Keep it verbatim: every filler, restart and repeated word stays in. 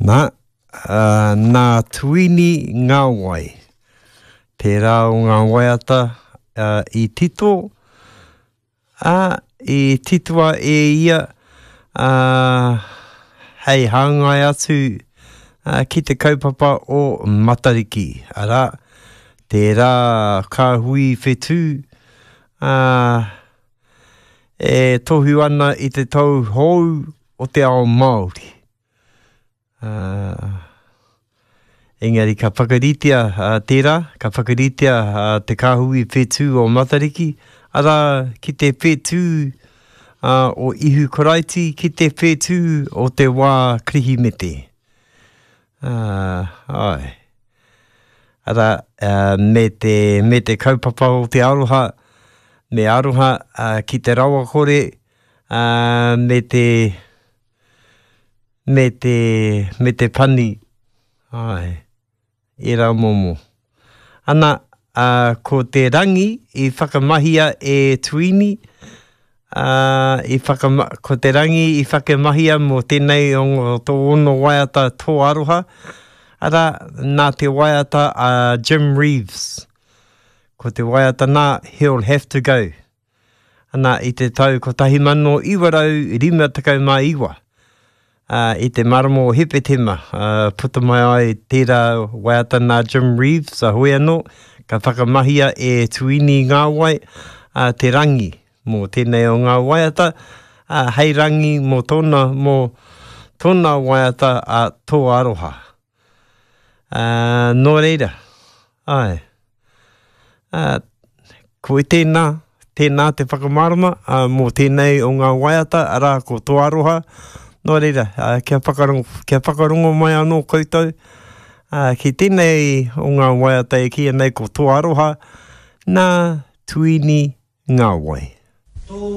Nā, ā, nā Tuini Ngāwai. Tērā o ngā waiata ā, i tito, ā, i titoa e ia ā, hei hāngai atu ā, ki te kaupapa o Matariki, arā, tērā kāhui whetū ā, e tohu ana i te tau hou o te ao Māori. Ā, engari ka whakaritea ā, tērā, ka whakaritea ā, te kāhui whetū o Matariki, arā, ki te whetū ā, o Ihu Karaiti, ki te whetū o te wā Kirihimete. Ā, āe. Arā, ā, me te, me te kaupapa o te aroha, me aroha ā, ki te rawakore, ā, me te, me te, me te pani, āe, ērā momo. Ana, ā, ko te rangi i whakamahia e Tuini, ā, i whakama, ko te rangi i whakamahia mō tēnei o tōna waiata Tō Aroha, arā, nā te waiata a Jim Reeves. Ko te waiata nā, He'll Have to Go. Ana, i te tau kotahi mano iwa rau rima tekau mā iwa, ā, i te marama o Hepetema, ā, puta mai ai tērā waiata nā Jim Reeves, a hoi anō, ka whakamahia e Tuini Ngāwai, ā, te rangi mō tēnei o ngā waiata, ā, hei rangi mō tōna, mō tōna waiata a Tō Aroha. Ā, nō reira, āe. Ā, ko tēnā, tēnā te whakamārama ā, mō tēnei o ngā waiata, arā, ko Tō Aroha. Nō reira, ā, kia whakarongo, kia whakarongo mai anō koutou ā, ki tēnei o ngā waiata e kīia nei ko Tō Aroha, nā Tuini Ngāwai.